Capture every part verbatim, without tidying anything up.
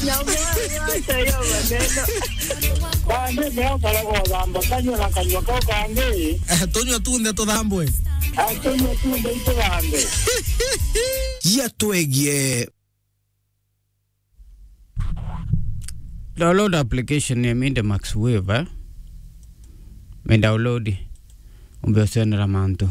Nyamwe, acha hiyo maneno. Bande, mea ukaraga uthamba kanyua na kanyua kau kangi. Eh, tunyua tunthe tuthambwe. Ah, tunyua tunthe ituthambe. Jia twegie. Download application ya Minde Max Wave, eh? Mi download. Umbe ucionera mantu.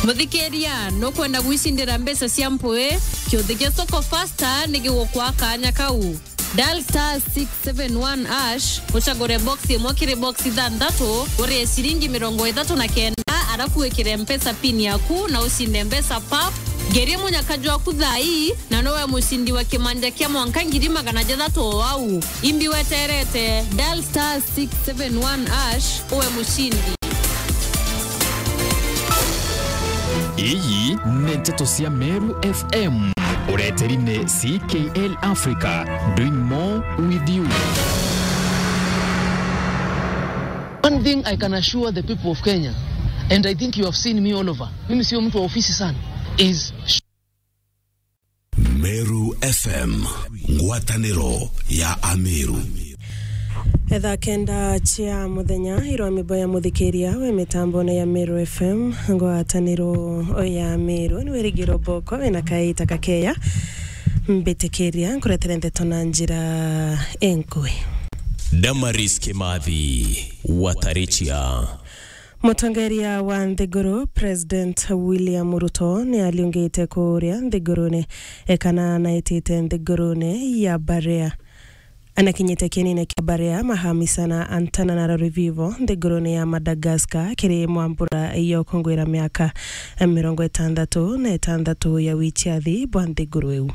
Muthikiria, nukwenda gwicindira mbeca cia mpui? Kiuthi gia Soko Faster ni gigukwa kanya kau. Dial star six seven one hash, ucagure box imwe kiri box ithanthatu, urie ciringi mirongo ithatu na kenda, arafu wikire Mpesa pin yaku na ucinde mbeca pap. Ngerie munyaka jwaku thaa ii, na nowe mucindi wa kimanja kia mwanka ngiri magana jathatu o au. Imbi weterete, dial star six seven one hash, uwe mucindi. Iyi ni nteto cia Meru F M. Ureteri ni C K L Africa, doing more with you. One thing I can assure the people of Kenya, and I think you have seen me all over. Mimi sio mtu wa ofisi sana, is Meru F M, ngwataniro ya Ameru. Thaa kenda cia muthenya, irwa mibo ya muthikiria we mitambone ya Meru F M, ngwataniro ya Meru, ni wirigiro boko wina kaita kakeya. Mbitikiria nkuretere ndeto na njira enkui. Damaris Kimathi, Watarichia. Mutongeria wa nthiguru, President William Ruto, ni aliungite kuria nthigurune, e, kana anaitite nthigurune ya Barea. Anakinyite kienine kia Barea, Mahamisa na Antananarivo, nthigurune ya Madagascar, kiri mwambura ya ukungwira miaka mirongo itandatu na itandatu ya wichiathi bwa nthiguru iu.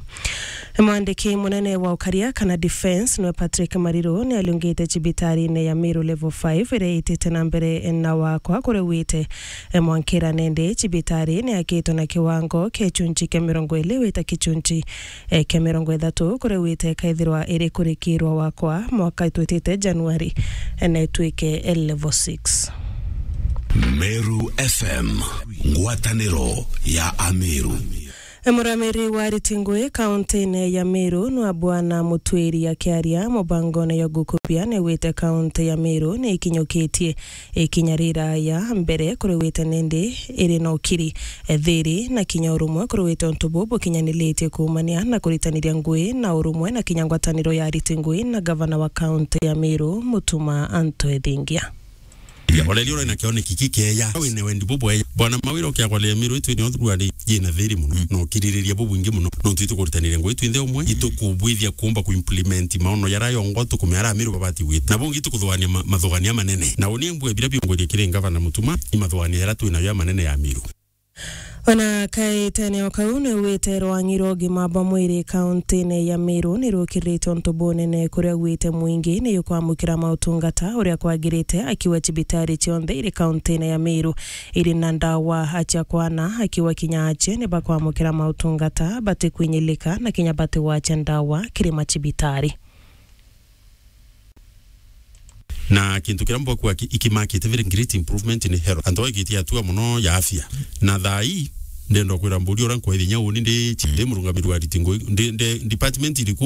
Mwandiki munene wa ukaria kana defense niwe Patrick Mariru ni aliungite cibitarine ya Meru Level five iria itite na mbere na wakwa kuria ugwite. E, mwankira nende cibitari ni yakitwe na kiwango kia gichunchi kia mirongo iri wita gichunchi, e, kia mirongo ithatu kuria ugwite ikaithirwa iri kurikirwa wakwa mwaka twitite Januari, e, na itwike, e, Level six. Meru F M, ngwataniro ya Ameru. Muramiri wa ariti ngui kauntine ya Meru nwa Bwana Mutwiri akiaria mubangone ya gukubia ni wite kaunti ya Meru ni ikinyukitie ikinya riraya mbere kuri wite nindi iri na ukiri, e, thiri na kinya urumwe kuri wite untu buu bukinyaniritie kuumania na kuritaniria ngui na urumwe na kinya ngwataniro ya ariti ngui na gavana wa kaunti ya Meru Mutuma Anto Ethingia. Ya, oreri uria na kioneki kikeya, wina wendi bubweya. Bwana Mawira ukiagwa ria Miru itu ni othuruari yina thiri muno, no kiririria bubwingi muno. No twitu kuritaniria ngui twinthe umwe, itukubwithia kuumba ku implement maono yara yongo tukumea ara Miru babati gwita. Na bungi tukuthuania ma-, mathuania manene. Na uni mbue bira biongwerie kiri ngavana Mutuma, imathuania yara twinayo ya manene ya Miru. Ona kaitene o kau, ni wite rwang'i rwa ugima bwa mwiri kauntine ya Meru ni rukirite untu bunene kuria gwite mwingi ni yukwamukira mautungata uria kwagirite, akiwa cibitari cionthe iri kauntine ya Meru iri na ndawa acia kwana, akiwa kinya acie ni bakwamukira mautungata batikwinyilika na kinya batigwacia ndawa kiri macibitari. Na kintu kiria mbwakua ki-, ikimakite very great improvement ni health. Antu baigite hatua muno ya afya. Na thaa ii, ndenda kwira mburi uria nkwethia inya uni ndi, ndi murungamiri wa ariti ngui, ndi, ndi department iriku